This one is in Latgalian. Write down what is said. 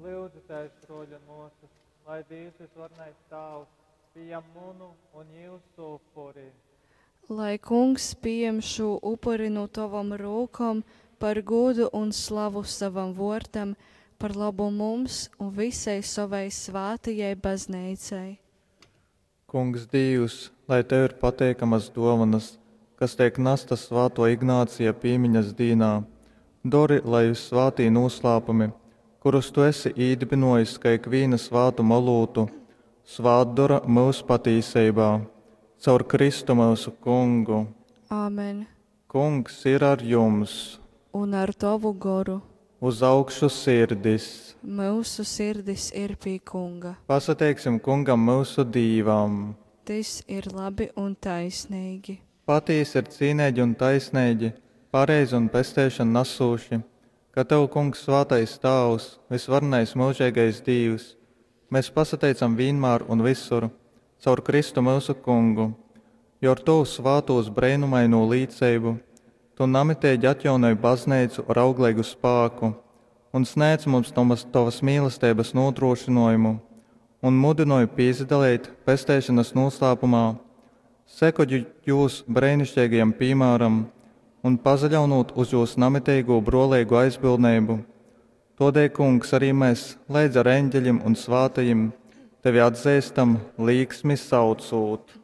Lyudzitēs, bruoļi un muosys, lai Dīvs Vysvarenais Tāvs pījam munu un jiusu upuri. Lai Kungs pījam šū upuri nu tovom rūkom par gūdu un slavu savam vuordam, par lobu mums un vysai sovai svātajai Bazneicai. Kungs Dīvs, lai Tev ir pateikamas dōvonas, kas teik nastas svātō Ignācija pīmiņas dīnā, dori, lai vyssvātī nūslāpumi, kurus Tu esi īdybynōjis kai ikvīna svātuma olūtu, svātdora myus patīseibā. Caur Kristu myusu Kungu. Āmen. Kungs ir ar jums! Un ar tovu goru. Uz augšu sirdis! Myusu sirdis ir pi Kunga. Pasateiksim Kungam myusu Dīvam! Tys ir labi un taisneigi. Patīsi ir cīneigi un taisneigi, pareizi un pesteišonu nasūši, ka Tev, Kungs, svātais Tāvs, vysvarenais myužeigais Dīvs, mes pasateicam vīnmār un vysur, caur Kristu myusu Kungu. Jo ar Tovu svātūs breinumainū līceibu Tu namiteigi atjaunoj Bazneicu ar augleigu spāku un snēdz mums Tovas mīlesteibas nūdrūšynōjumu un mudynoj pīsadaleit pesteišonas nūslāpumā, sekojūt jūs breiniškeigajam pīmāram un pasaļaunūt uz jūs namiteigū brōleigu aizbildneibu. Tōdēļ, Kungs, arī mes leidz ar eņgelim un svātajim Tevi atzeistam, līksmi saucūt.